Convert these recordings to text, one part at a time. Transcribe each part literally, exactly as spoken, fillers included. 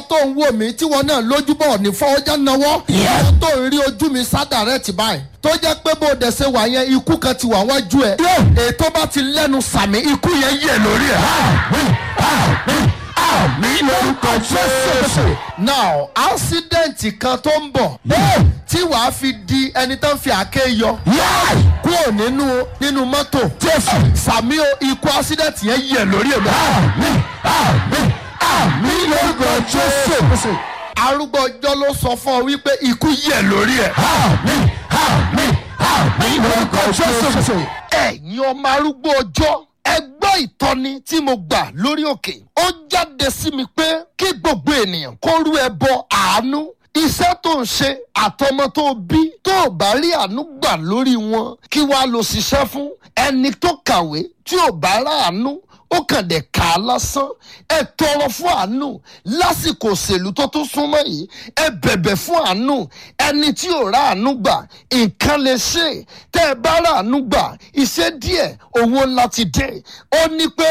Tó ń wò mí tí wọn náà lójúbọ̀ ní fọwọ́jà náwó tó ń rí ojú mi sádàrẹ́tì báyìí, tó jẹ́ pé bó dẹ̀ ṣe wà yẹn, ikú kan ti wà wájú ẹ̀. Ètò bá ti lẹ́nu sàmì, ikú yẹn yẹ̀ lórí ẹ̀. Àmín, àmín, àmín lórúkọ Jésù. Now, accident kan tó ń bọ̀ tí wàá fi di ẹni tó ń fi àáké yọ Yáì. kúrò nínú nínú mọ́tò. Jésù. Sàmì o, ikú accident yẹn yẹ̀ lórí ẹ̀. Àmín, àmín, àmín lórúkọ Jésù. Arúgbó ọjọ́ ló sọ fún ọ wípé ikú yẹ̀ lórí ẹ̀. Àmín, àmín, àmín lórúkọ Jésù. Ẹ̀yin ọmọ arúgbó ọjọ́, ẹ gbọ́ ìtọ́ni tí mo gbà lórí òkè. Ó jáde sí mi pé kí gbogbo ènìyàn kó rú ẹbọ àánú. Iṣẹ́ tó ń ṣe àtọmọ tó bí, tó ò bá rí àánú gbà lórí wọn, kí wàá lọ ṣiṣẹ́ fún? Ẹni tó kàwé tí ò bá ráàánú, ó kàn dé kà á lásán. Ẹ tọrọ fún àánú lásìkò òṣèlú tó tún súnmọ́ yìí. Ẹ bẹ̀bẹ̀ fún àánú. Ẹni tí ò ráàánú gbà, nǹkan lè ṣe. Tẹ́ ẹ bá ráàánú gbà, iṣẹ́ díẹ̀, owó ńlá ti dé. Ó ní pé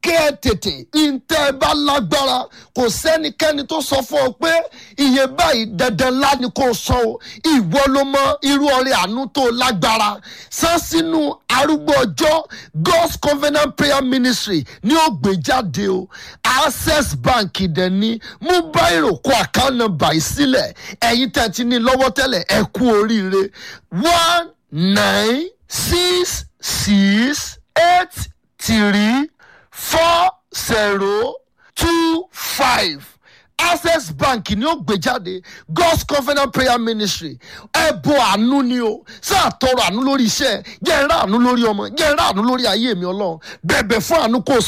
kẹ́ ẹ tètè ntẹ́ ẹ bá lágbára. Kò sẹ́nikẹ́ni tó sọ fún ọ pé iye báyìí dandan ńlá ni kò sọ o. Ìwọ ló mọ irú ọrẹ àánú tó lágbára san sínú arúgbó ọjọ́ God's Covenant Prayer Ministry ní ó gbé jáde o. Access Bank dẹ̀ ní. Mú báyìí, kó account number yìí sílẹ̀. Ẹ̀yin tẹ̀ ti ní lọ́wọ́ tẹ́lẹ̀, ẹ kú oríire. One nine six six eight three four zero two five, Access Bank ni ó gbé jáde, God's Covenant Prayer Ministry. Ẹbọ àánú ni o. Sáà tọrọ àánú lórí iṣẹ́ jẹ́ ń rà, àánú lórí ọmọ jẹ́ ń rà, àánú lórí ayé mi. Ọlọ́run, bẹ̀bẹ̀ fún àánú kó o sọ.